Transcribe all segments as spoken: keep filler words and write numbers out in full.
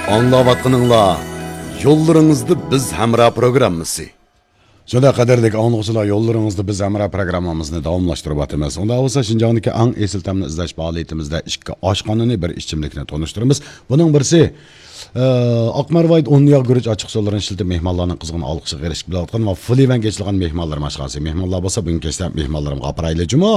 ئاڭلاۋاتقىنىڭلار يوللىرىڭىزدا بىز ھەمراھ پروگراممىسى. شۇنداق، قەدىرلىك ئاڭلىغۇچىلار، يوللىرىڭىزدا بىز ھەمراھ پروگراممىمىزنى داۋاملاشتۇرۇۋاتىمىز. ئۇنداق بولسا، شىنجاڭدىكى ئەڭ ئېسىل تەمنى ئىزدەش پائالىيىتىمىزدە ئىككى ئاشخانىنى، بىر ئىچىملىكنى تونۇشتۇرىمىز. بۇنىڭ بىرسى، ئە، ئاق مەرۋايىت ئۇن ياغ گۈرۈچ ئاچچىق سۇلىرىنى ئىشلىتىپ، مېھمانلارنىڭ قىزغىن ئالقىشىغا ئېرىشىپ كېلىۋاتقان ۋە فۇلىۋەنگە ئېچىلغان مېھمانلىرىم ئاشخانىسى. مېھمانلار بولسا بۈگۈن كەچتە مېھمانلىرىمغا ئاپىرايلى جۇمۇ.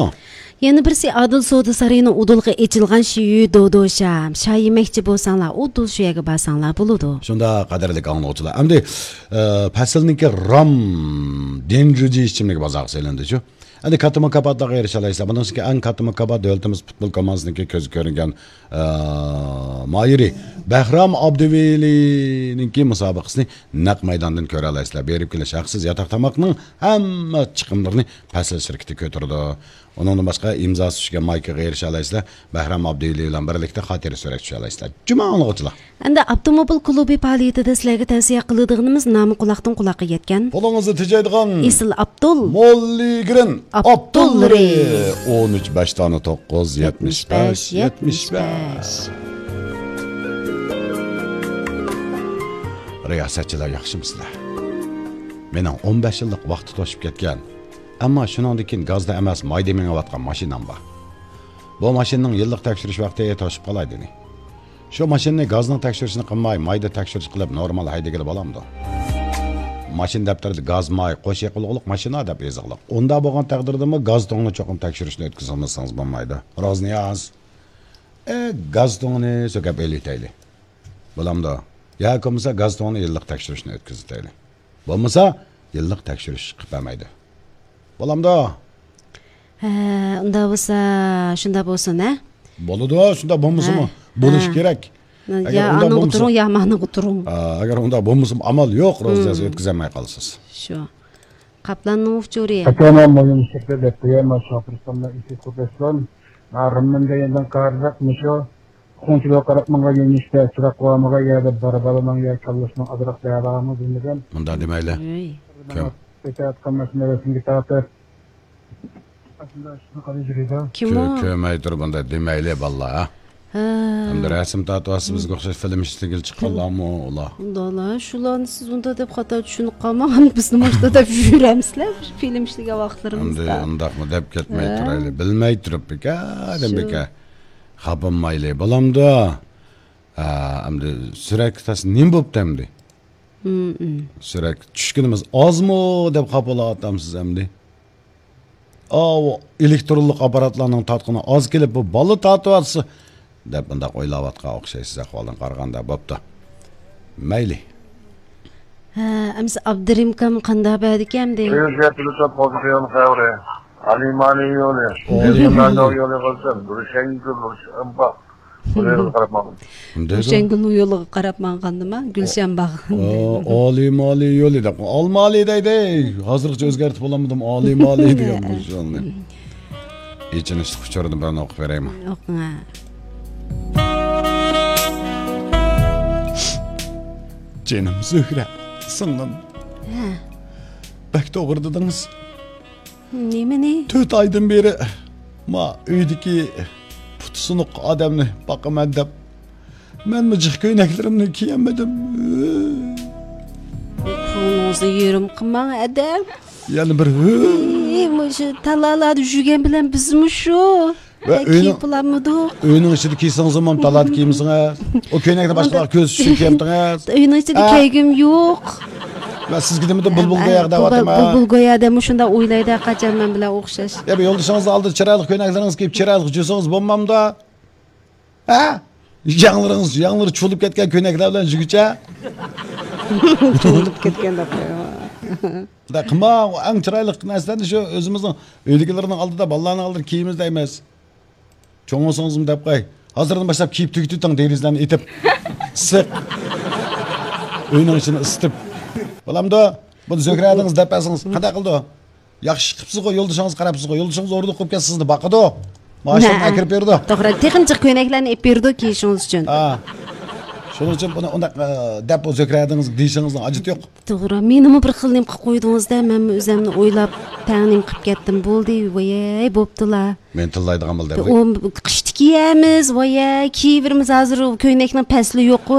يەنە بىرسى ئادىل سودا سارىيىنىڭ ئۇدۇلغا ئېچىلغان شيۈ دودو شام. شاي يېمەكچى بولساڭلار، ئۇدۇل شۇ يەرگە بارساڭلار بولىدۇ. شۇنداق، قەدىرلىك ئاڭلىغۇچىلار. ئەمدى، ئە، پەسىلنىڭكى رام دېنجۇجى ئىچىملىكى بازارغا سېلىندى شۇ. ئەمدى كاتتا مۇكاپاتلارغا ئېرىشەلەيسىلەر. بۇنىڭ ئىچىدىكى ئەڭ كاتتا مۇكاپات دۆلىتىمىز پۇتبول كوماندىسىنىڭكى كۆزگە كۆرۈنگەن، ئە، ماھىرى بەھرام ئابدىۋېلىنىڭكى مۇسابىقىسىنى نەق مەيداندىن كۆرەلەيسىلەر. بېرىپ كېلىش ھەقسىز، ياتاق تاماقنىڭ ھەممە چىقىملىرىنى پەسىل شىركىتى كۆتۈرىدۇ. ئۇنىڭدىن باشقا ئىمزاسى چۈشكەن مايكىغا ئېرىشەلەيسىلەر. بەھرام ئابدىۋېلى بىلەن بىرلىكتە خاتىرە سۈرەتكە چۈشەلەيسىلەر. جۇمۇ ئاڭلىغۇچىلار. ئەمدى ئاپتوموبىل كۇلۇبى پائالىيىتىدە سىلەرگە تەۋسىيە قىلىدىغىنىمىز نامى قۇلاقتىن قۇلاققا يەتكەن، پۇلىڭىزنى تېجەيدىغان ئېسىل ئابدۇل موللىگرىن ئابدۇللىرى. ئابدۇللىرى. ئون ئۈچ بەش دانە توققۇز، يەتمىش بەش، يەتمىش بەش. رىياسەتچىلەر ياخشىمۇسىلەر؟ مېنىڭ ئون بەش يىللىق ۋاقتى توشۇپ كەتكەن، ئەمما شۇنىڭدىن كېيىن گازدا ئەمەس، مايدا مېڭىۋاتقان ماشىنام بار. بۇ ماشىنىنىڭ يىللىق تەكشۈرۈش ۋاقتى توشۇپ قالاي دېدى. شۇ ماشىنىنى گازنىڭ تەكشۈرۈشىنى قىلماي، مايدا تەكشۈرۈش قىلىپ، نورمال ھەيدىگىلى بولامدۇ؟ ماشىنا دەپتىرىدە گاز ماي، قوش يېقىلغۇلۇق ماشىنا دەپ يېزىقلىق. ئۇنداق بولغان تەقدىردىمۇ گاز تۇڭىنى چوقۇم تەكشۈرۈشنى ئۆتكۈزۈۋالمىسىڭىز بولمايدۇ. روزنىياز، ئە، گاز تۇڭىنى سۆكەپ ئېلىۋېتەيلى. بولامدۇ؟ ياكى بولمىسا گاز تۇڭىنى يىللىق تەكشۈرۈشنى ئۆتكۈزۈۋېتەيلى. بولمىسا يىللىق تەكشۈرۈش قىلىپ بەرمەيدۇ. بولامدۇ؟ ھە، ئۇنداق بولسا، شۇنداق بولسۇن، ھە؟ بولىدۇ، شۇنداق بولمىسىمۇ ھە، بولۇشى ھە. كېرەك. ئەگەر يا ئۇنداق ئانىڭغا بولمىسا تۇرۇڭ، يا مانىڭغا تۇرۇڭ. ئا، ئەگەر ئۇنداق بولمىسىمۇ ئامال يوق، روزىيەز، ھىم. ئۆتكۈزەلمەي قالىسىز. شۇ. قاپلاننىڭ ئۇچۇرى. ئاكا، مانا مۇھىم ئىشلىقتا دەپ قوياي، ما شاپىرىستاندا ئىشى كۆپەشلەن. ما رىممىن دېگەندىن قارىساق، مۇشۇ خۇڭچىلىغا قاراپ ماڭغان يۆنىلىشتە چىراغ قويمىغان يەردە بار بالىنىڭ يا كاللىسىنىڭ ئازراق دەۋالغانمۇ بىلمىدىم. مۇنداق دېمەيلى. ئۆي. كۆم. كېتىۋاتقان ماشىنا رەسىمگە تارتىپ. ئاشۇنداق ئىشنى قىلىپ يۈرىدۇ. كىم ئۇ؟ كۆ-، كۆرمەي تۇرۇپ مۇنداق دېمەيلى، بالىلار، ھە؟ ھە. ئەمدى رەسىم تارتىۋاتسا، بىزگە ئوخشاش فىلىم ئىشلىگىلى چىققانلارمۇ ئۇلار؟ ئۇنداقلا، شۇلارنى سىز ئۇنداق دەپ خاتا چۈشىنىپ قالماڭ، بىزنى ماشۇندا دەپ يۈرەمسىلەر، فىلىم ئىشلىگەن ۋاقىتلىرىمىزدا. ئەمدى ئۇنداقمۇ دەپ كەتمەي ھە. تۇرايلى. بىلمەي تۇرۇپ بىكاردىن شۇ. بىكار خاپىمايلى، بولامدۇ؟ ھە، ئەمدى سۈرەتكە تاس نېمە بوپتۇ ئەمدى؟ ھىم، ھىم. سۈرەتكە چۈشكىنىمىز ئازمۇ دەپ خاپا بولۇۋاتامسىز ئەمدى؟ ئاۋۇ ئېلېكترونلۇق ئاپپاراتلارنىڭ تارتقىنى ئاز كېلىپ، بۇ بالا تارتىۋاتسا، دەپ مۇنداق ئويلاۋاتقان ئوخشايسىز ئەھۋالدىن قارىغاندا. بوپتۇ. مەيلى. ھە، ئەمسە ئابدۇرېھىم ئاكام قانداق بەردىكەن ئەمدى؟ ئۆزى تېلېفون قوزغىغان خەۋىرى. ئالىمانى يولى. ئالىمانى. يولى يولى قىلسۇن. بىر شەڭگۈل، بىر شەمباق. بۇ يولغا قاراپ ماڭدىم. نېمە دەيدۇ؟ شەڭگۈلنىڭ يولىغا قاراپ مانغاندىما؟ گۈلشەن باغ. ئالىمانى يولى دەپ. ئالمالى دەيدۇ. ھازىرغىچە ئۆزگەرتىپ بولالمىدىم. ئالىمالى دېگەن بۇ يولنى. ئېچىنىشلىق ئۇچۇرنى بىرنى ئوقۇپ بېرەيمۇ؟ ئوقۇڭ. جېنىم زۆھرە، سىڭلىم. ھە. بەك توغرا دېدىڭىز. نېمىنى؟ تۆت ئايدىن بېرى ما ئۆيدىكى پۇتى سۇنۇق ئادەمنى باقىمەن دەپ، مەنمۇ جىق كۆينەكلىرىمنى كىيەلمىدىم. پۇلىڭىزنى يېرىم قىلماڭ، ئادەم. يەنە بىر ھۆ. ئى، مۇشۇ تالالاردا يۈرگەن بىلەن بىزمۇ شۇ. ۋە ھە، ئۆينىڭ، كىيىپ بولالمىدۇق. ئۆينىڭ ئىچىدە كىيسىڭىزمۇ تالادە كىيمىسىڭىز. ئۇ كۆينەكنى باشقىلار كۆرسە ئۈچۈن كىيەمتىڭىز؟ ئۆينىڭ ئىچىدە ھە؟ كىيگۈم يوق. ۋە سىزگە دېمىدىم، بۇلبۇل ھە، گوياغدا بۇلبۇل، دەۋاتىمەن. بۇلبۇل گويا دەمۇ شۇنداق ئويلايدۇ، قاچان مەن بىلەن ئوخشاش. يا، بۇ يولدىشىڭىزنىڭ ئالدىدا چىرايلىق كۆينەكلىرىڭىزنى كىيىپ، چىرايلىق يۈرسىڭىز بولمامدۇ؟ ھە؟ ياڭلىرىڭىز، ياڭلىرى چۇۋۇلۇپ كەتكەن كۆينەكلەر بىلەن يۈرگۈچە. چۇۋۇلۇپ كەتكەن دەپ قويۇڭ. ئۇنداق قىلماڭ، ئەڭ چىرايلىق نەرسىلەرنى شۇ ئۆزىمىزنىڭ ئۆيدىكىلەرنىڭ ئالدىدا، بالىلارنىڭ ئالدىدا كىيىمىز دەيمىز. چوڭ بولسىڭىزمۇ دەپ قوي. ھازىردىن باشلاپ كىيىپ تۈگىتىۋېتىڭ، دېرىزىلەرنى ئېتىپ. ئىسسىق. ئۆينىڭ ئىچىنى ئىسسىتىپ. بولامدۇ؟ بۇنى زۆھرە ھەدىڭىز دەپ بەرسىڭىز، قانداق قىلىدۇ؟ ياخشى قىپسىزغۇ، يولدىشىڭىزغا قاراپسىزغۇ. يولدىشىڭىز ئورۇنلۇق بولۇپ كەتسە سىزنى باقىدۇ. مائاشلىرىنى ھە، ھە. ئەكىرىپ بېرىدۇ. توغرا، تېخىمۇ جىق كۆينەكلەرنى ئېلىپ بېرىدۇ كىيىشىڭىز ئۈچۈن. ھە. شۇنىڭ ئۈچۈن بۇنى ئۇنداق، ئە، دەپ، ئۇ زۆھرە ھەدىڭىز دېيىشىڭىزنىڭ ھاجىتى يوق. توغرا، مېنىمۇ بىر خىل نېمە قىلىپ قويدىڭىز-دە، مەنمۇ ئۆزۈمنى ئويلاپ، تەڭ نېمە قىلىپ كەتتىم، بولدى، ۋايەي، بوپتۇلا. مېنى تىللايدىغان بولدى. ئۇ قىشتا كىيەمىز، ۋايەي، كىيىۋېرىمىز، ھازىر ئۇ كۆينەكنىڭ پەسلى يوققۇ،